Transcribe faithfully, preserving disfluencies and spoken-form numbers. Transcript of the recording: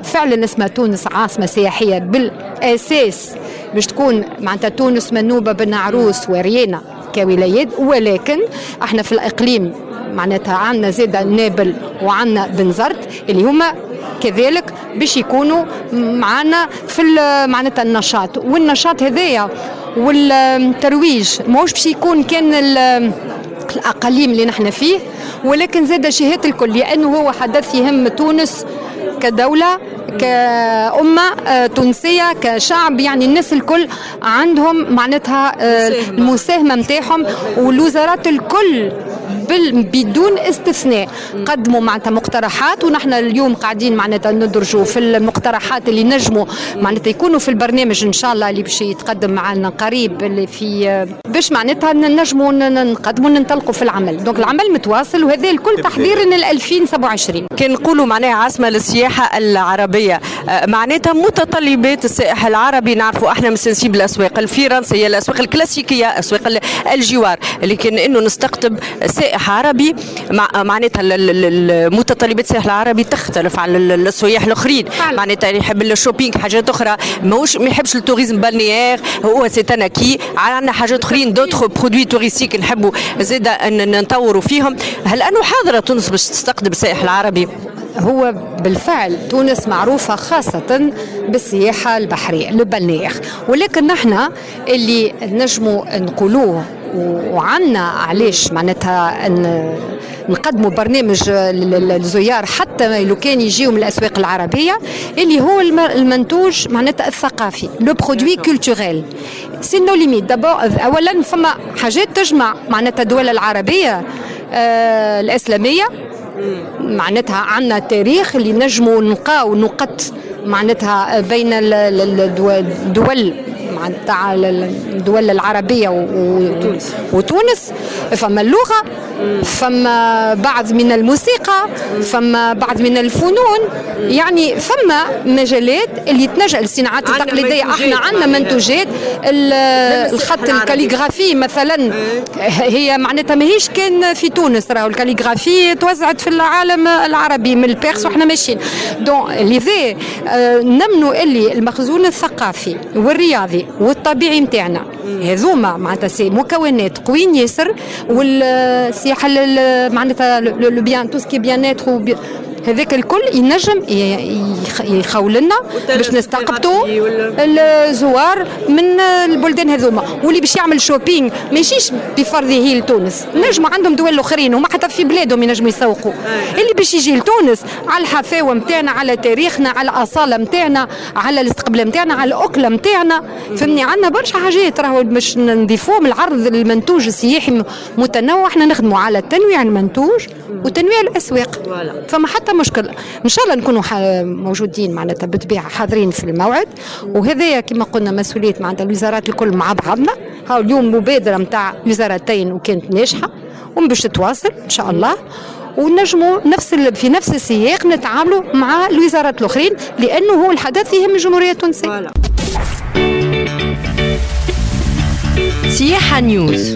فعلا اسمها تونس عاصمة سياحية بالأساس باش تكون معناتها تونس منوبة بن عروس وريانا كولايات، ولكن احنا في الإقليم معناتها عندنا زادة نابل وعندنا بنزرت اللي هما كذلك باش يكونوا معنا في معناتها النشاط. والنشاط هذايا والترويج ماهوش باش يكون كان الأقاليم اللي نحن فيه، ولكن زاد جهات الكل، لأنه هو حدث يهم تونس كدولة، كأمة تونسية، كشعب. يعني الناس الكل عندهم معناتها المساهمة متاعهم، والوزارات الكل بدون استثناء قدموا معناتها مقترحات، ونحن اليوم قاعدين معناتها ندرجوا في المقترحات اللي نجموا معناتها يكونوا في البرنامج ان شاء الله اللي باش يتقدم معنا قريب، اللي في باش معناتها نجموا نقدموا ننطلقوا في العمل. donc العمل متواصل، وهذا الكل تحضيرا لل ألفين وسبعة وعشرين. كان نقولوا معناها عاصمة للسياحة العربية، معناتها متطلبات السائح العربي نعرفوا احنا مستنسين بالاسواق الفرنسية، الاسواق الكلاسيكية، اسواق الجوار، لكن انه نستقطب سائح عربي مع معناتها المتطلبات السائح العربي تختلف على السياح الاخرين. معناتها يحب ال shopping، حاجات اخرى، ماهوش ما يحبش ال tourisme balnéaire، هو c'est un acquis. عندنا حاجات اخرين d'autres produits touristiques نحبوا زاده ان نطوروا فيهم. هل انه حاضره تونس باش تستقطب السائح العربي؟ هو بالفعل تونس معروفة خاصة بالسياحة البحرية le balnéaire، ولكن نحن اللي نجموا نقولوه وعنا علاش معناتها ان نقدموا برنامج للزيار حتى لو كان يجيو من الاسواق العربية، اللي هو المنتوج معناتها الثقافي، le produit culturel c'est nos limites d'abord. اولا فما حاجات تجمع معناتها الدول العربية آه الاسلامية، معناتها عندنا تاريخ اللي نجموا نلقاو نقط معناتها بين الدول معناتها الدول العربية وتونس وتونس. فما اللغة، فما بعض من الموسيقى، فما بعض من الفنون، يعني فما مجالات اللي تنجم الصناعات التقليدية. احنا عندنا منتوجات الخط ال calligraphie مثلا، هي معناتها ماهيش كان في تونس، راهو ال calligraphie توزعت في العالم العربي من ال Perse وحنا ماشيين. donc لذا نمنوا اللي المخزون الثقافي والرياضي والطبيعي نتاعنا هذوما معناتها c'est مكونات قويين ياسر. والسياحة معناتها le bien tout ce qui est bien-être هذاك الكل ينجم يخول لنا باش نستقبطوا الزوار من البلدان هذوما. واللي باش يعمل shopping ما يجيش بفرضه لتونس، نجموا عندهم دول اخرين وما حتى في بلادهم ينجموا يسوقوا. اللي باش يجي لتونس على الحفاوه نتاعنا، على تاريخنا، على الاصالة نتاعنا، على الاستقبال نتاعنا، على الاكلة نتاعنا، فهمني؟ عندنا برشا حاجات راهو باش نضيفوهم. العرض المنتوج السياحي متنوع، احنا نخدموا على تنويع المنتوج وتنويع الاسواق. فما حتى مشكل، ان شاء الله نكونوا موجودين معناتها بالطبيعة حاضرين في الموعد. وهذايا كما قلنا مسؤولية معناتها الوزارات الكل مع بعضنا. هاو اليوم مبادرة نتاع وزارتين وكانت ناجحة وباش تتواصل ان شاء الله، ونجموا نفس في نفس السياق نتعاملوا مع الوزارات الاخرين، لانه هو الحدث يهم الجمهورية التونسية. سياحة نيوز.